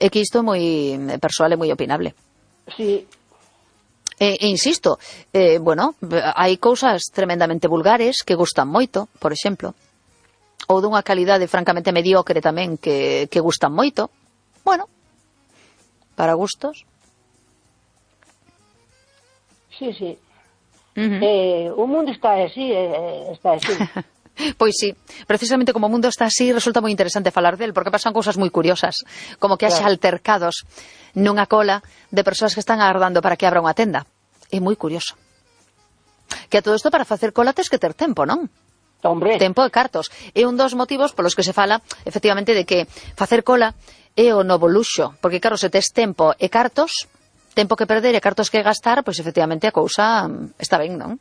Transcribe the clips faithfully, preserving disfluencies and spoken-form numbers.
é que isto é moi persoal e moi opinable. Sí. E, e insisto, eh, bueno, hai cousas tremendamente vulgares que gustan moito, por exemplo, ou dunha calidade francamente mediocre tamén que, que gustan moito. Bueno, para gustos. Sí, sí. Uh-huh. Eh, o mundo está así, eh, está así. Pois sí, precisamente como o mundo está así, resulta moi interesante falar del, porque pasan cousas moi curiosas, como que haxa claro. altercados nunha cola de persoas que están agardando para que abra unha tenda. É moi curioso. Que a todo isto para facer cola tes que ter tempo, non? Hombre. Tempo e cartos. É un dos motivos polos que se fala, efectivamente, de que facer cola é o novo luxo, porque claro, se tes tempo e cartos, tempo que perder e cartos que gastar, pois efectivamente a cousa está ben, non?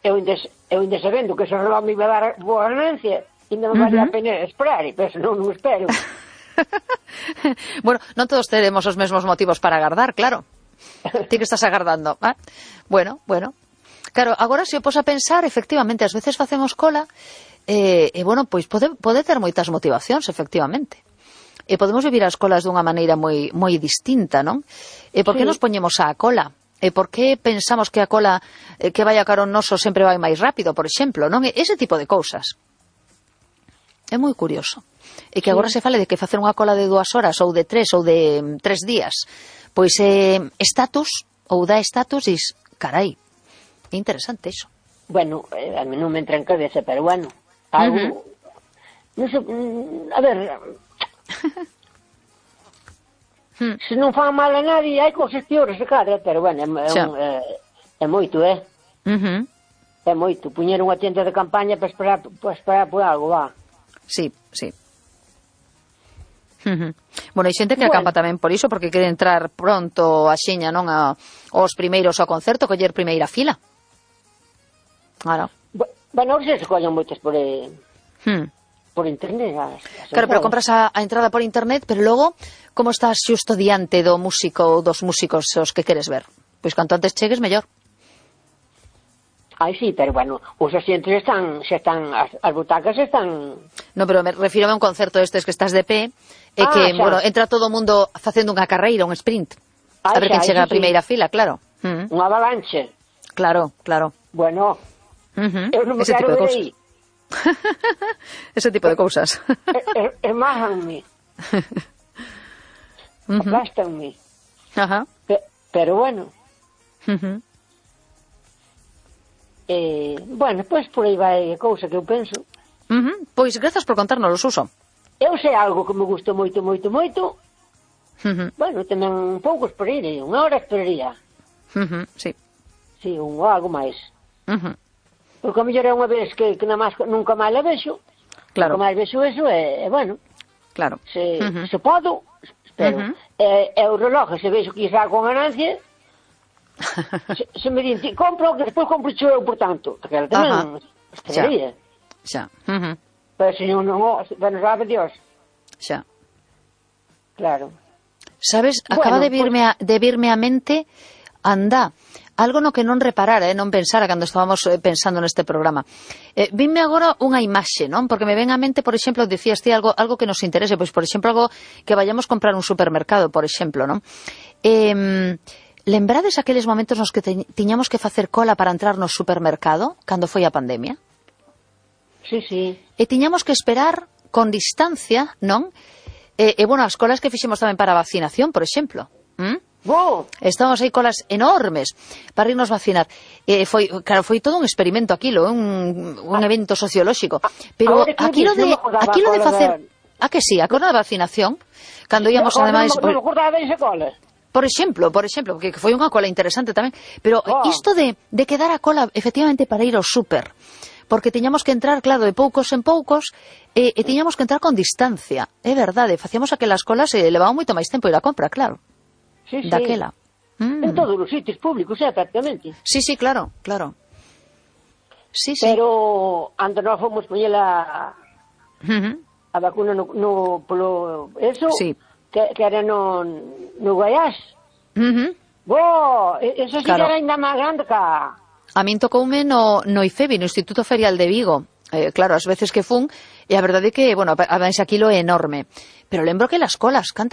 Eu ainda, eu ainda sabendo que ese reloj me iba a dar boa ganancia, ainda me valía uh-huh. a pena esperar, pero se non, non espero. Bueno, non todos teremos os mesmos motivos para agardar, claro. Ti que estás agardando. Ah, bueno, bueno. Claro, agora se o pos a pensar, efectivamente, ás veces facemos cola, e, eh, bueno, pois pode, pode ter moitas motivacións, efectivamente. E podemos vivir as colas dunha maneira moi, moi distinta, non? E por que sí. nos poñemos á cola? E por que pensamos que a cola eh, que vai a carón noso sempre vai máis rápido, por exemplo, non? Ese tipo de cousas. É moi curioso. E que sí. agora se fale de que facer unha cola de dúas horas ou de tres ou de um, tres días, pois é eh, estatus, ou dá estatus, dis, carai, é interesante iso. Bueno, eh, a mí non me entra en cabeza, pero bueno, algo... Uh-huh. Non sei, a ver... Hmm. Se non fan mal a nadie, hai cosas peores de cara, pero bueno, é, é, un, é, é moito, é? Uh-huh. É moito, puñer unha tienda de campaña para esperar, para esperar por algo, va. Sí, sí. Uh-huh. Bueno, hai xente que bueno. acampa tamén por iso, porque quere entrar pronto a xeña, non, a, aos primeiros ao concerto, coller primeira fila. Claro. Bueno, se se collen moitas por... Eh... Hmm. por internet. As, as claro, pero compras a, a entrada por internet, pero logo, como estás xusto diante do músico ou dos músicos os que queres ver? Pois canto antes chegues, mellor. Ai, sí, pero bueno, os asientos están, xa están, as, as butacas están... No, pero me refiro a un concerto estes que estás de pé, e ah, que, xa. bueno, entra todo o mundo facendo unha carreira, un sprint. Ai, a ver xa, quen chega a primeira sí. fila, claro. Mm. Unha avalanche. Claro, claro. Bueno, uh-huh. eu non me ese quero tipo de ver cosas. aí. Ese tipo de cousas. Hermájanme. Uh-huh. Aplástanme. Ajá. Pe pero bueno. Uh-huh. Eh, bueno, pois pues por aí vai a cousa que eu penso. Uh-huh. Pois grazas por contarnos, Suso. Eu sei algo que me gusta moito, moito, moito. Uh-huh. Bueno, tamén un pouco esperaría, unha hora esperaría. Uh-huh. Sí. Sí, un ou algo máis. Uh-huh. Porque a mellor é unha vez que, que más, nunca máis la vexo. Claro. Nunca máis vexo eso, é, é bueno. Claro. Se, uh-huh. se podo, espero. Uh-huh. É, é o reloj, se vexo que xa con ganancia, se, se me din, compro, que despois compro eu, por tanto. Porque ela tamén esperaría. Xa. Uh-huh. Pero se non, non, bueno, sabe Dios. Xa. Claro. Sabes, acaba bueno, de virme, pues... a, de virme a mente, anda, algo no que non reparara, eh, non pensara cando estábamos eh, pensando neste programa. Eh, vime agora unha imaxe, non? Porque me ven a mente, por exemplo, dicías ti algo, algo que nos interese, pois, por exemplo, algo que vayamos comprar un supermercado, por exemplo, non? Eh, lembrades aqueles momentos nos que te, tiñamos que facer cola para entrar no supermercado, cando foi a pandemia? Sí, sí. E tiñamos que esperar con distancia, non? E, e bueno, as colas que fixemos tamén para a vacinación, por exemplo. ¿Mm? Oh. Estamos aí colas enormes para irnos vacinar. Eh, foi, claro, foi todo un experimento aquilo, un, un ah. evento sociolóxico. Pero aquilo de, aquilo de facer... A que sí, a cola da vacinación, cando íamos ademais... Non me acordaba desa cola. Por exemplo, por exemplo, que foi unha cola interesante tamén. Pero oh. isto de, de quedar a cola, efectivamente, para ir ao súper, porque tiñamos que entrar, claro, de poucos en poucos, e, e tiñamos que entrar con distancia. É verdade, facíamos aquelas colas e levaba moito máis tempo ir a compra, claro. Sí, sí. Daquela. Mm. En todos os sitios públicos, é, prácticamente. Sí, sí, claro, claro. Sí, sí. Pero, antes nós fomos poñela uh-huh. a vacuna no, no polo... Eso, sí. que, que era no, no Guaiás. Uh-huh. Bo, eso sí claro. Que era ainda máis grande que... A min tocoume no, no IFEBI, no Instituto Ferial de Vigo. Eh, claro, as veces que fun, e a verdade é que, bueno, a aquilo é enorme. Pero lembro que las colas, cantas